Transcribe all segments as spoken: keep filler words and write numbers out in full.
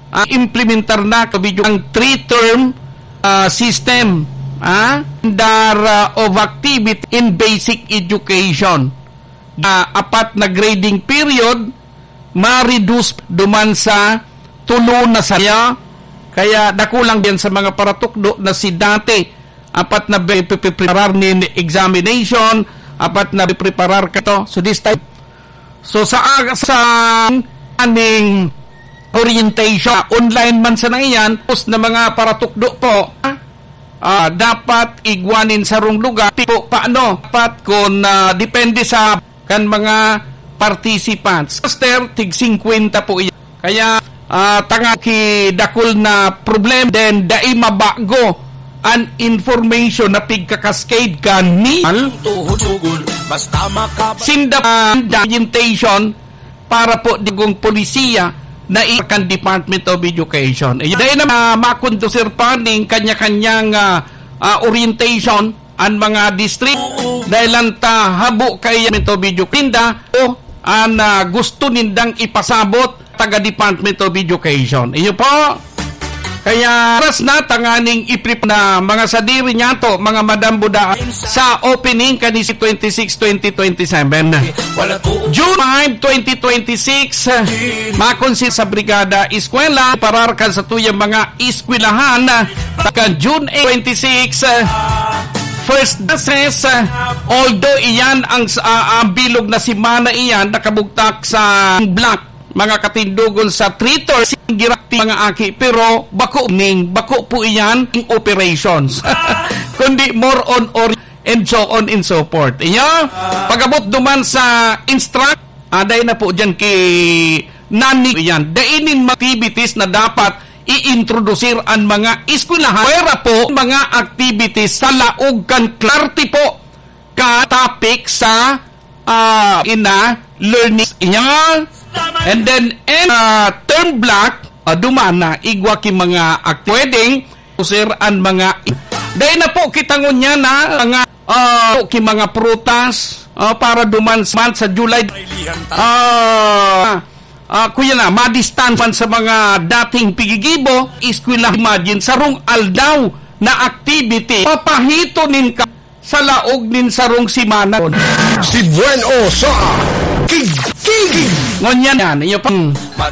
Ah, implementar na, kabidyo, ang three-term, ah, system, ah, calendar, ah, of activity in basic education. Na apat na grading period, ma-reduce duman sa tulo na saya. Kaya dakulang din sa mga paratukdo na si dati, apat na be-, pe-, pe-, preparar nin examination, apat na be-, preparar ka to. So this time, so sa aga, sa aning orientation, online man sana iyan, post na mga paratukdo po, ah, dapat igwa nin sarong lugar, tipo, paano? Dapat kung, ah, depende sa kan mga participants. Master, tig singkwenta po iyan. Kaya, ah, tanga ki dakul na problem, then dai mabago an information na pigka-cascade kan ni Tuhod-tugol, basta makaba- sinda, ah, orientation para po digong polisiya na i-, kan Department of Education. Eh, dahil na ma-, makondusir pa ning kanya-kanyang, ah, ah, orientation, an mga district, dahil lang ta habo kay Department of Education o an, ah, gusto nindang ipasabot taga Department of Education. Iyo po. Kaya oras na tanganing iprip na mga sadiri niyato, mga madam buda, sa opening kanisi twenty-six, twenty twenty-seven. June five, twenty twenty-six, makonsi sa Brigada Eskwela, parar kan sa tuyang mga eskwelahan, kan June eight, twenty-six, first classes, although iyan ang, ah, ang bilog na semana iyan, nakabugtak sa block, mga katindogon sa three thirty, girati mga aki, pero bako ning, bako po iyan in operations. Kundi more on or-, and so on and so forth. Iyo, pag-abot duman sa instruct, aday na po dyan ki nani yan. Dainin mga activities na dapat i-introdusir an mga eskwelahan. Pwera po mga activities sa laog kan klarte po ka topic sa, ah, ina learning. Iyan. And then, and, ah, term block, ah, duman na, igwa ki mga act-, pwedeng, sir, an mga, dahil na po, kita ngunyan na, mga, ah, ki mga prutas, ah, para duman sa month sa July. Ah, ah, kuya na, madistance man sa mga dating pigigibo, eskwela, imagine, sarong aldaw na activity, papahito nin ka, sa laog nin sarong semana. Si Buen O sa Kig-, Kig-. Ngunyan yan, iyo pa.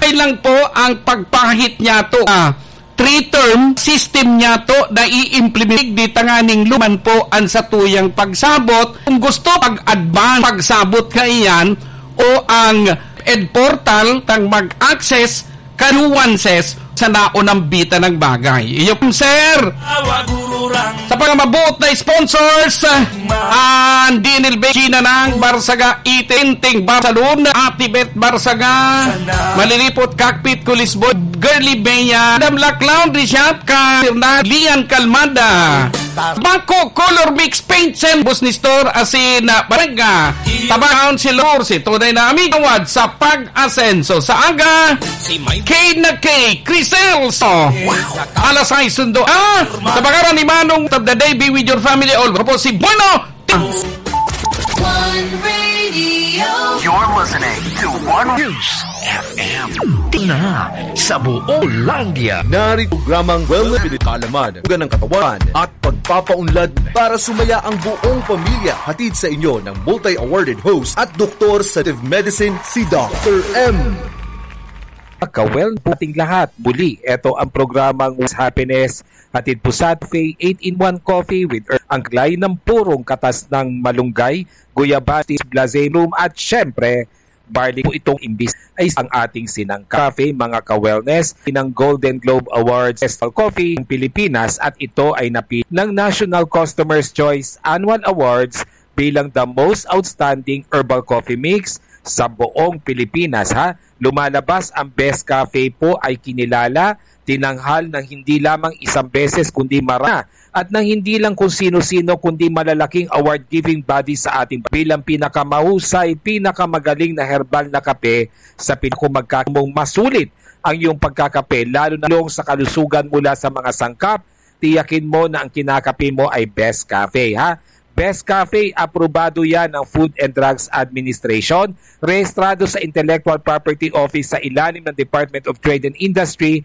Kailang po ang pagpahit niya to, ah, three-term system niya to na i-implement di tanganing luman po ang satuyang pagsabot. Kung gusto pag-advance, pagsabot kaiyan o ang ed portal tang mag-access kanuanses sa naunambitan ng bagay. Iyo po, sir. Sa mga mabuot na sponsors, ang D N L B, Gina ng Barsaga, Itinting Barsalon, Ate Beth Barsaga, Malilipot Cockpit, Kulisboy, Girly Bea, Madam Lac Laundry Shop, Ka-, Lian Calmada, Bangko Color Mix Paint Center, Busni Store, asin, ah, Barega, Tabang Councilor, si tunay na amigo, tawad sa pag-asenso sa aga, Si Mike. K na K, Criselso. Alas sais sundo, ah, sa pangaran ni Manong of the Day, be with your family, all. Ako po si Bono. One Radio. You're listening to One News F M. Tina sa buong Landia. Narito programang Wellness, pinipalaman, ugan ng katawan at pagpapaunlad para sumaya ang buong pamilya. Hatid sa inyo ng multi-awarded host at doktor sa medicine, si Doctor M. Pagka-well po ating lahat. Muli, eto ang programang What's Happiness. Hatid po sa Cafe eight-in-one Coffee with Earth, ang glay ng purong katas ng malunggay, guyabas, blazing room, at syempre, barley po itong imbis ay ang ating Sinang Cafe, mga ka-wellness, ng Golden Globe Awards Festival Coffee ng Pilipinas at ito ay napili ng National Customer's Choice Annual Awards bilang the most outstanding herbal coffee mix sa buong Pilipinas, ha? Lumalabas ang Best Cafe po ay kinilala, tinanghal ng hindi lamang isang beses kundi mara at ng hindi lang kung sino-sino kundi malalaking award-giving body sa ating bilang pinakamahusay, pinakamagaling na herbal na kape sa Pilipinas. Kung magkakamong masulit ang iyong pagkakape, lalo na yung sa kalusugan mula sa mga sangkap, tiyakin mo na ang kinakape mo ay Best Cafe, ha? Best Cafe, aprobado yan ng Food and Drugs Administration, rehistrado sa Intellectual Property Office sa ilalim ng Department of Trade and Industry,